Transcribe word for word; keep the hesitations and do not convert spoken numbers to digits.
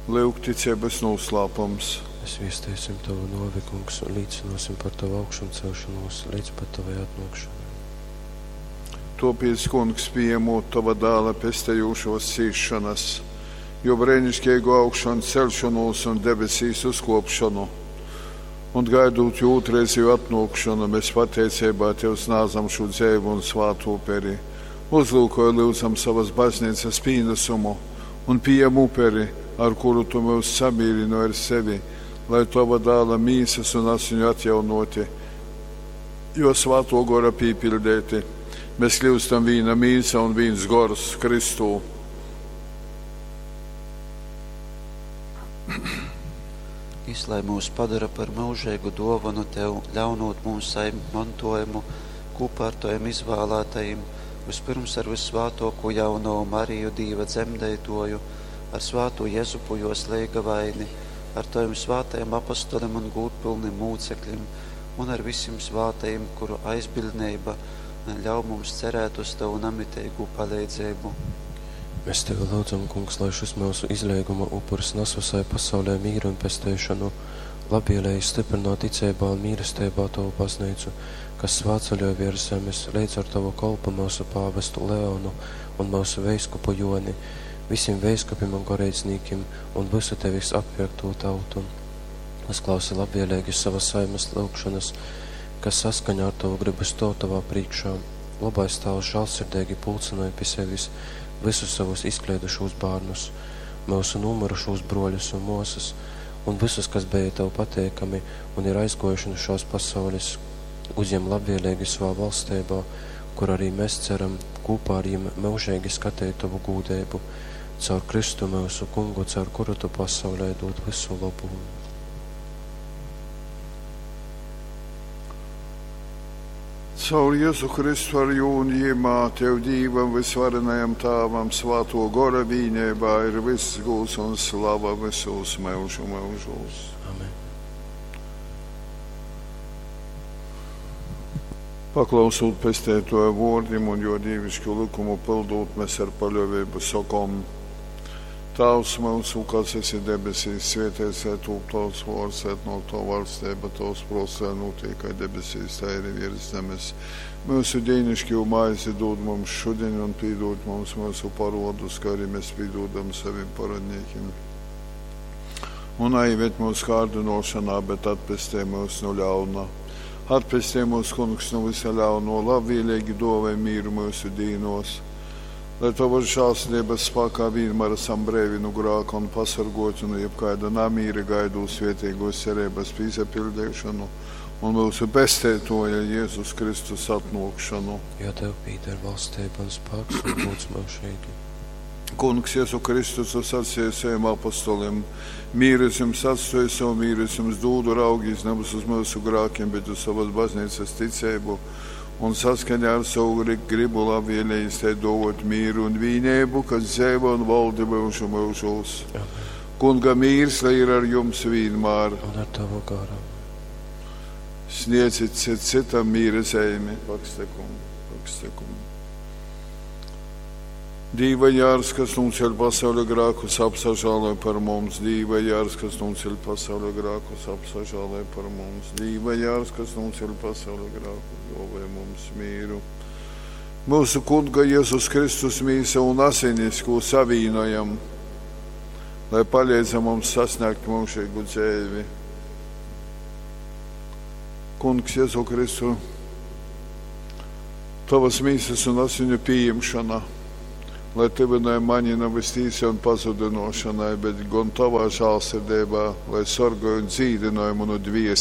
Lyuk ticeibys nūslāpums. Mēs viesteisim Tavu nōvi, Kungs, un līcynōsim par Tavu augšamceļšonūs līdz pat Tavai atnōkšanai. Tōpēc, Kungs, pījemūt Tova dāla pestejūšōs cīsšonas, jō breiniškeigu augšanceļšonūs un debesīs uzkōpšonu, un gaidūt jō ūtrreizeju atnōkšonu, mēs pateiceibā Tev snādzam šū dzeivu un svātu uperi. Uzlūkoj, lyudzam, sovas bazneicas pīnasumu un pījem uperi, ar kuru Tu myus samīrynoj ar sevi, lai Tova dāla mīsas un asiņu atjaunoti, jo svāto gora pīpiļdeiti, mēs kļūstam vīna mīsa un vīns gors Kristū. Jis lai myus padora par myužeigu dōvonu Tev, ļaunūt mums sajimt montōjumu kūpā ar Tovim izvālātajim, vyspyrms ar vyssvātōkū Jaunovu Mariju, Dīva dzemdeitōju, ar svātū Jezupu, jōs leigavaini, ar Tovim svātajim apostolim un gūdpylnim mūceklim un ar visim svātajim, kuru aizbiļdneiba ļauj mums cerēt uz Tovu namiteigū paleidzeibu. Mēs Tevi lyudzam, Kungs, lai šis myusu izleiguma upuris nas vysai pasaulē mīru un pesteišonu, labvēlīgi stiprināt ticeibā un mīlesteibā Tovu baznīcu, kas svētceļoj virs zemes, leidz ar Tavu kolpu myusu pāvestu Leonu un myusu veiskupu Joni, visiem veiskupim un goreidznīkim un visu Tevis atpirkto tautu. Uzklausi labvēlīgi savas saimes lūgšanas, kas saskaņā ar Tavu gribu stōv Tavā priekšā. Labais Tāvs žālsirdīgi pulcināja pie sevis visus savus izkleidušos bērnus, myusu nomirušos broļus un māsas, un visus, kas bija Tev pateikami un ir aizgojuši no šās pasaules, uzņem labvēlīgi savā valstībā, kur arī mēs ceram kopā ar viņiem mūžīgi skatīt Tavu gūdību, caur Kristu mūsu kungu, caur kuru Tu pasaulē dod visu labu. Caur Jēzu Kristu ar jū un jimā, Tev Dīvam visvarenajam Tāvam, svāto gora vīnībā ir viss gūs un slava visos mūžu mūžos. Amen. Paklausūt pestētoja vōrdim un jo dīvišku likumu pildūt, mēs ar paļāvību sakom: Tēvs mūsu, kas esi debesīs, svētīts lai tūp tavs vārds, atnāk tava valstība, tavs prāts, lai notiek kā debesīs, tā arī virs zemes. Mūsu dienišķo maizi dod mums šodien un piedod mums mūsu parodus, kā arī mēs piedodam saviem parodniekiem. Un neieved mūsu kārdinošanā, bet atpestī mūs no ļauna. Atpestī mūs, Kungs, no visa ļauno, labvēlīgi dāvā mieru mūsu dīnos. Lai Tavas žēlsirdības spēkā vienmēr esam brīvi no grēka un pasargoti no jebkāda namīra gaidot svētīgos cerības piepildīšanu un mūsu pestētoja Jēzus Kristus atnākšanu. Jo Tev pieder valstība un spēks un gods mūžīgi. Kungs Jēzu Kristus, tu sacīji saviem apostoliem, mieru es jums atstāju, savu mieru es jums dodu, raugīs nevis uz mūsu grēkiem, bet uz savas baznīcas ticību, un saskaņā ar savu gribu labvēlīgi tai dot mieru un vienību, kas dzīvo un valda mūžu mūžos. Amen. Kunga mīrs, lai ir ar jums vienmēr. Un ar Tavu garu. Sniedzit cit citam mīra zīmi. Pakstekum, pakstekum. Dīva jārs, kas nūceļ pasaules grēkus, apsažāloj par mums. Dīva jārs, kas nūceļ pasaules grēkus, apsažāloj par mums. Dīva jārs, kas nūceļ pasaules grēkus, dāvā mums mīru. Mūsu Kunga Jēzus Kristus mīsa un asinis, ko savīnojam, lai palīdz mums sasniegt mūžīgu dzīvi. Kungs Jēzu Kristu, Tavas mīsas un asiņu pieņemšana, lai tuvināja mani nevis tīsai un pazudinošanai, bet gan Tavā žēlsirdībā, lai sargāja un dzīdināja manu dviesi.